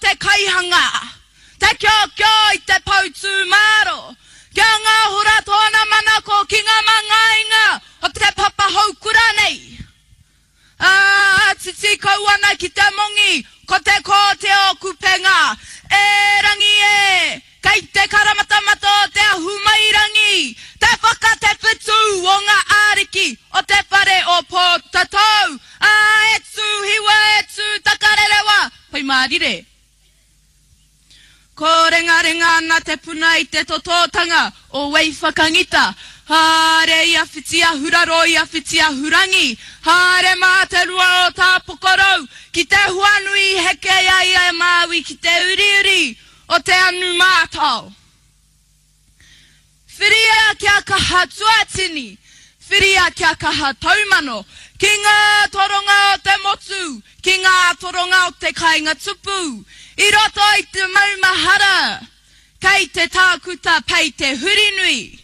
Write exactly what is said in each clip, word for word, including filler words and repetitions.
te kaihanga, te kiokio i te poutūmāro, kia ngahora tōna manako ki ngā mangainga o te papa houkura nei. Ā, titi kau ana ki te mongi, ko te kōte o Kupenga. E rangi e, kei te karamatamata o te ahumairangi, te whakatewhetū o ngā ariki o te whare o Pōtatau, ā, e tū hiwa, e tū takarerewa, pai mārire. Kōrengarenga ana te puna i te totōtanga o Waiwhakangita. Haere i a Whitiahuraro i a Whitiahurangi, haere mā te rua o Tāpokorou ki te huanui i heke ai a Māui ki te uriuri o te anu mātao. Whiria kia kaha tuatini, whiria kia kaha taumano, ki ngā toronga o te motu, ki ngā toronga o te kāinga tupu, i roto i te maumahara, kei te tākuta Pei Te Hurinui.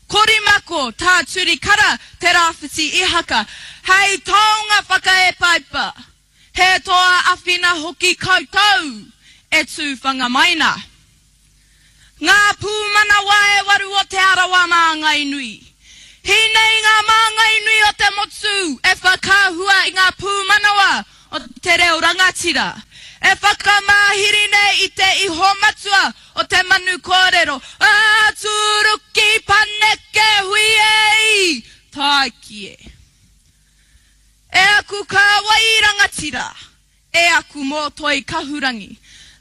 Korimako, Tā Turi Kara, Te Rāwhiti Ihaka, hei taonga whakaepaipa, he toa awhina hoki koutou e tū whanga mai na. Ngā pūmanawa e waru o Te Arawa māngai nui. Hīnei ngā māngai nui o te motu e whakaahua i ngā pūmanawa o te reo rangatira, e whakamāhiri nei i te iho matua o te manu kōrero, ā, tūruki paneke hui e i, tāiki e. E aku kāwai rangatira, e aku mōtoi kahurangi,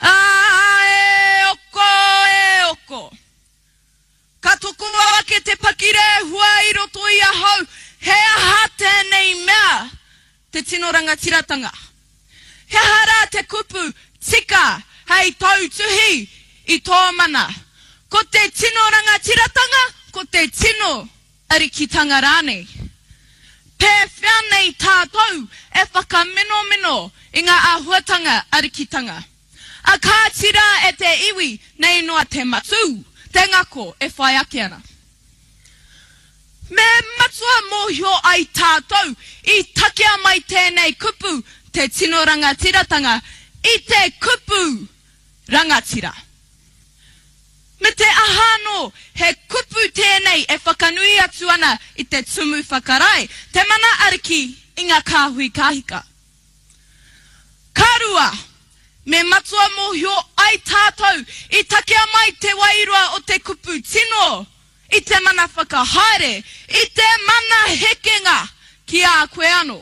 ā, e oko, e oko. Ka toko ake te pakirehua i roto i ahau, he aha tēnei mea te tino rangatiratanga? He aha rā te kupu tika hei tautuhi i tō mana? Ko te tino rangatiratanga, ko te tino arikitanga rānei? Pēwhea nei tātou e whakaminomino i ngā āhuatanga arikitanga? A kāti rā e te iwi nei noa te matū, te ngako e whai ake ana. Me matua mōhio ai tātou i takea mai tēnei kupu te tino rangatiratanga i te kupu rangatira. Me te aha anō, he kupu tēnei e whakanui atu ana i te tumu whakarae, te mana ariki i ngā kāhui kāhika. Ka rua, me matua mōhio ai tātou i takea mai te wairua o te kupu tino i te mana whakahaere, i te mana hekenga ki a koe anō.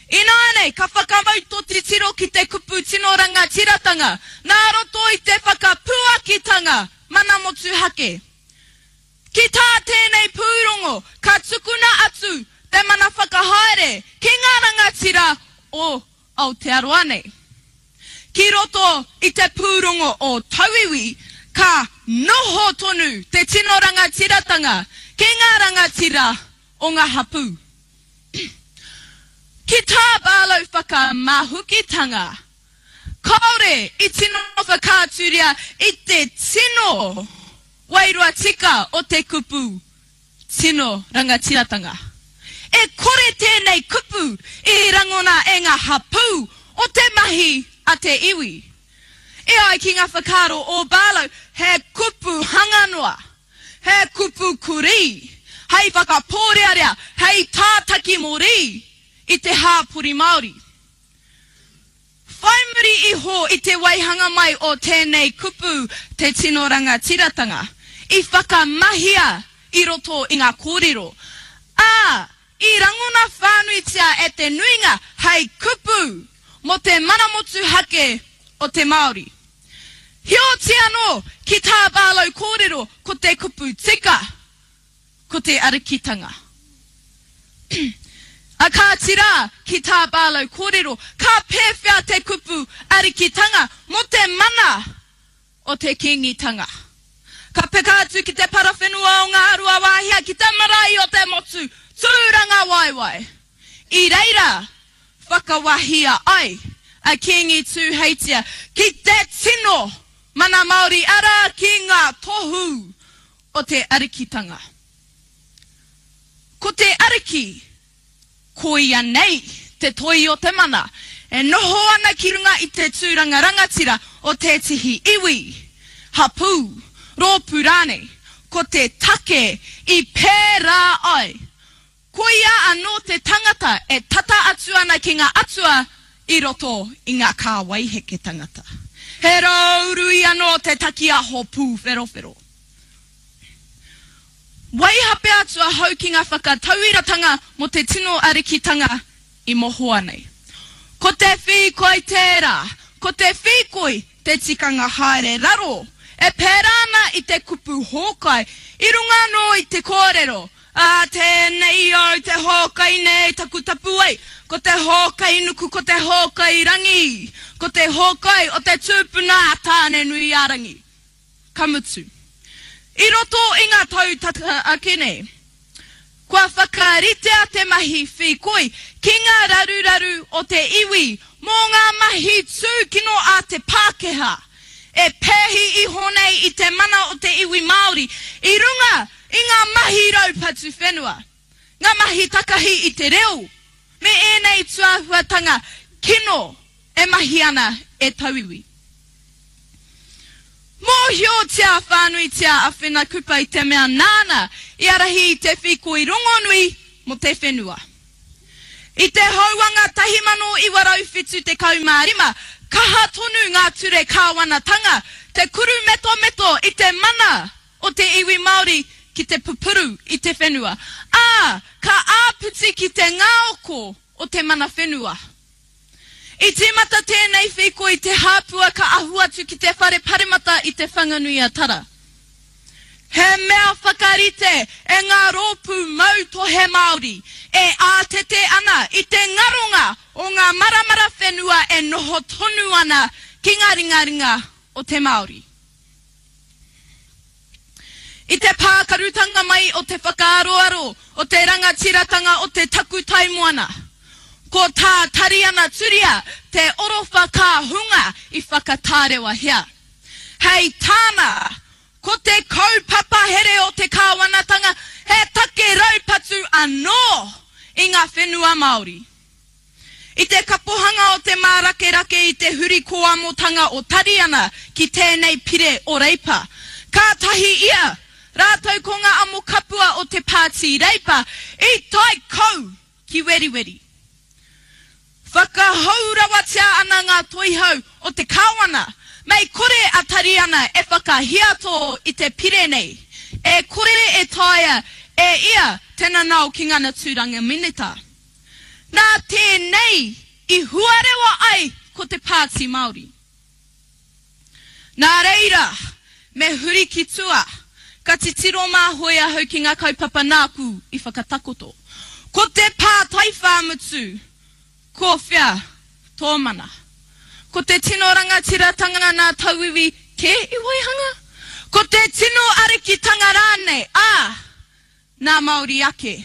Ināianei, ka whakamau tō titiro ki te kupu tino rangatiratanga, nā roto i te whakapuakitanga mana motuhake. Ki tā tēnei pūrongo, ka tukuna atu te mana whakahaere ki ngā rangatira o Aotearoa nei. Ki roto i te pūrongo o tauiwi, ka noho tonu te tino rangatiratanga ki ngā rangatira o ngā hapū. Ki tā Barlow whakamahukitanga, kāore i tino whakaaturia i te tino wairua tika o te kupu tino rangatiratanga. E kore tēnei kupu i rangona e ngā hapū o te mahi a te iwi. E ai ki ngā whakaaro o Barlow, he kupu hanga noa, he kupu kurī, hei whakapōrearea, hei tātaki mōrī i te hāpori Māori. Whai muri iho i te waihanga mai o tēnei kupu te tino rangatiratanga, i whakamahia i roto i ngā kōrero, ā, i rangona whānuitia e te nuinga hei kupu mō te mana motuhake o te Māori. Heoti anō, ki tā Barlow kōrero, ko te kupu tika, ko te arikitanga. A kāti rā, ki tā Barlow kōrero, ka pēwhea te kupu arikitanga mō te mana o te Kīngitanga? Ka peka atu ki te parawhenua o Ngāruawāhia ki te marae o te motu, Tūrangawaewae. I reira whakawahia ai a Kīngi Tūheitia ki te tino mana Māori, arā ki ngā tohu o te arikitanga. Ko te ariki, ko ia nei te toi o te mana, e noho ana ki runga i te tūranga rangatira o tētehi iwi, hapū, rōpū rānei. Ko te take i pērā ai, koia anō te tangata e tata atu ana ki ngā atua i roto i ngā kāwai heke tangata. He rōurui anō te takiaho pūwherowhero. Waihape atu ahau ki ngā whakatauiratanga mō te tino arikitanga i mohoa nei. Ko te whīkoi tērā, ko te whīkoi te tikanga haere raro, e pērā ana i te kupu hōkai, i runga anō i te kōrero, Ā, tēnei au te hōkai nei taku tapuwae, ko te hōkai nuku, ko te hōkai rangi, ko te hōkai o te tūpuna a Tāne-nui-ā-rangi. Ka mutu. I roto i ngā tau tata ake nei, kua whakaritea te mahi whīkoi ki ngā raruraru o te iwi mō ngā mahi tūkino a te Pākehā e pēhi iho nei i te mana o te iwi Māori i runga i ngā mahi raupatu whenua, ngā mahi takahi i te reo, me ēnei tūāhuatanga kino e mahi ana e tauiwi. Mōhiotia whānuitia a Whina Kupa i te mea nāna i ārahi i te whīkoi rongonui mō te whenua. I te houanga tahi mano iwa rau whitu tekau mā rima, kaha tonu ngā ture kāwanatanga te kurumetometo i te mana o te iwi Māori ki te pupuru i te whenua, ā, ka āpiti ki te ngaoko o te mana whenua. I tīmata tēnei whīkoi i te hāpua ka ahu atu ki te whare paremata i Te Whanganui-a-Tara. He mea whakarite e ngā rōpū mautohe Māori e ātete ana i te ngaronga o ngā maramara whenua e noho tonu ana ki ngā ringaringa o te Māori. I te pākarutanga mai o te whakaaroaro o te rangatiratanga o te takutai moana, ko tā Tariana Turia te orowhakahunga i whakatārewahia. Hei tāna, ko te kaupapa here o te kāwanatanga he take raupatu anō i ngā whenua Māori. I te kapohanga o te mārakerake i te huri kōamotanga o Tariana ki tēnei pire o Reipa, kātahi ia, rātou ko ngā amokapua o te Pāti Reipa i tae kau ki Weriweri. Whakahou rawatia ana ngā toihau o te kāwana, mei kore a Tariana e whakahiato i te pire nei, e kore e taea e ia te nanao ki ngana tūranga minita. Nā tēnei i huarewa ai ko te Pāti Māori. Nā reira, me huri ki tua, ka titiro māhoi ahau ki ngā kaupapa nāku i whakatakoto. Ko te pātai whāmutu, ko whea tō mana? Ko te tino rangatiratanga nā tauiwi kē i waihanga? Ko te tino arikitanga rānei, ā, nā Māori ake?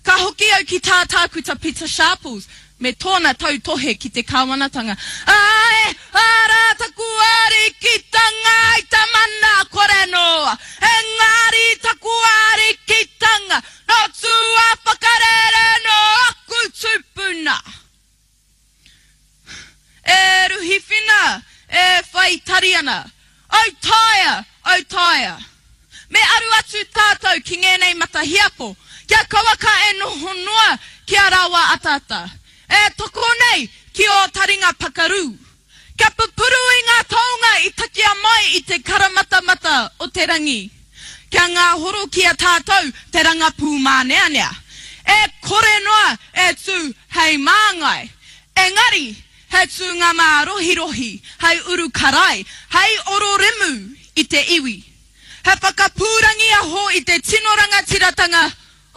Ka hoki au ki tā Tākuta Pita Sharples me tōna tautohe ki te kāwanatanga. Āe, arā taku arikitanga i ta mana kore noa, engari taku arikitanga nō tua whakarere nō aku tūpuna. E ruhi whina, e whai tari ana. Autaia! Autaia! Me aru atu tātou ki ngēnei matahiapo, kia kauaka e noho noa ki a rāua ataata, e toko nei ki ō taringa pakarū. Kia pupuru i ngā taonga i takia mai i te karamatamata o te rangi. Kia ngāhoro ki a tātou te rangapū māneanea. E kore noa e tū hei māngai, engari he tūnga mārohirohi hei uru karai, hei ororemu i te iwi. He whakapūrangiaho i te tino rangatiratanga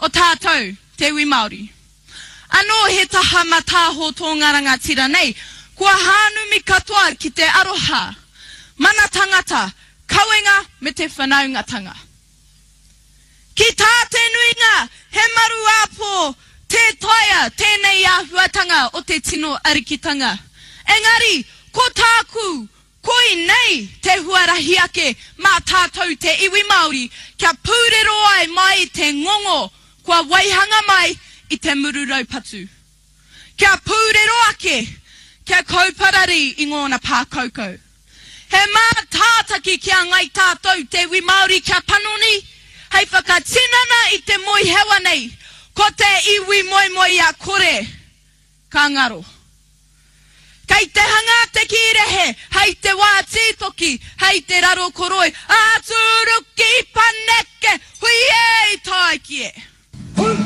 o tātou, te iwi Māori. Anō he taha matāho tō ngā rangatira nei, kua hānumi katoa ki te aroha, mana tangata, kawenga me te whanaungatanga. Ki tā te nuinga, he maruāpō tē taea tēnei āhuatanga o te tino arikitanga. Engari, ko tāku, koinei te huarahi ake mā tātou te iwi Māori kia pūrero ai mai te ngongo kua waihanga mai i te muru raupatu. Kia pūrero ake kia kauparari i ngōna pākaukau. He mātātaki ki a Ngai Tātou te iwi Māori kia panoni, hei whakatinana i te moehewa nei, ko te iwi moemoe a kore, ka ngaro. Kei te hanga te kīrehe, hei te wā tītoki, hei te raro koroi, ā tūruki paneke, hui e i tāiki e.